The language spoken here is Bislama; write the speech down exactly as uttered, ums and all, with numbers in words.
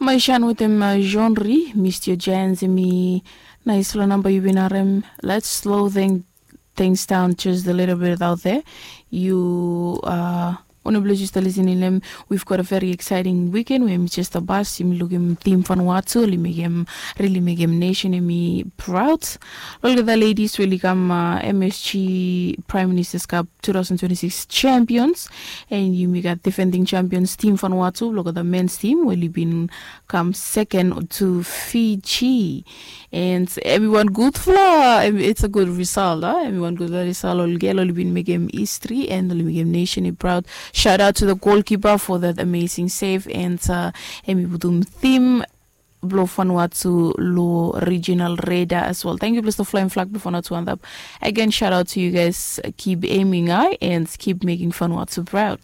Maishan wetem Jeanri, Mistio Jans, emi nais long namba yu bin harem. Let's slow thing, things down just a little bit out there. Yu uh, Only blue just listening them. We've got a very exciting weekend. We just a bus. Imi lukim team Vanuatu. Oli mekem, really mekem nation emi proud. Look at the ladies. Really come uh, M S G Prime Minister's Cup two thousand twenty-six champions, and yumi gat defending champions team Vanuatu. Look at the men's team. Well, you been come second to Fiji, and everyone good fla. It's a good result, huh? Everyone good result. Ol gel oli bin mekem history and oli mekem nation proud. Shout out to the goalkeeper for that amazing save, and uh, emi putum team blo Vanuatu lo regional radar as well. Thank you, bless the flying flag blo Vanuatu and up. Again, shout out to you guys. Keep aiming high and keep making Vanuatu proud.